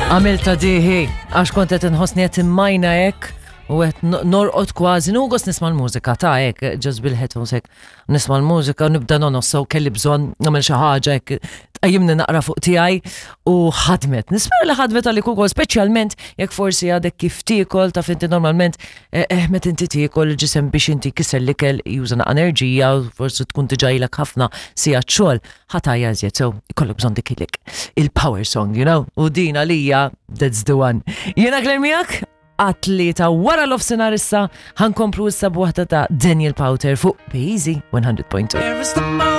Għamilta diħi, għax kont qed inħossni qed immajna hekk u qed norqod kważi, nieħu gost nisma' l-mużika ta' hekk, ġast bil-headphones hekk, nisma' l-mużika u nibda nonos, so kelli bżonn nagħmel xi ħaġa hekk tqajjimni naqra fuq tiegħi u ħadmet. Nispera li ħadmet għalik ukoll, speċjalment jekk forsi għadek kif tiekol, taf inti normalment eh, eh, meta inti tiekol il-ġisem biex inti kisser l-ikel juża naqa' enerġija u forsi tkun diġà ilek ħafna sigħat xogħol, ħa tgħajja iżjed, so ikollok bżonn dik il-power song, you know, u din għalija that's the one. Jiena Claire miegħek għat-tlieta wara l-ofsinar issa ħankomplu issa b'waħda ta' Daniel Powter fuq Easy 100.2.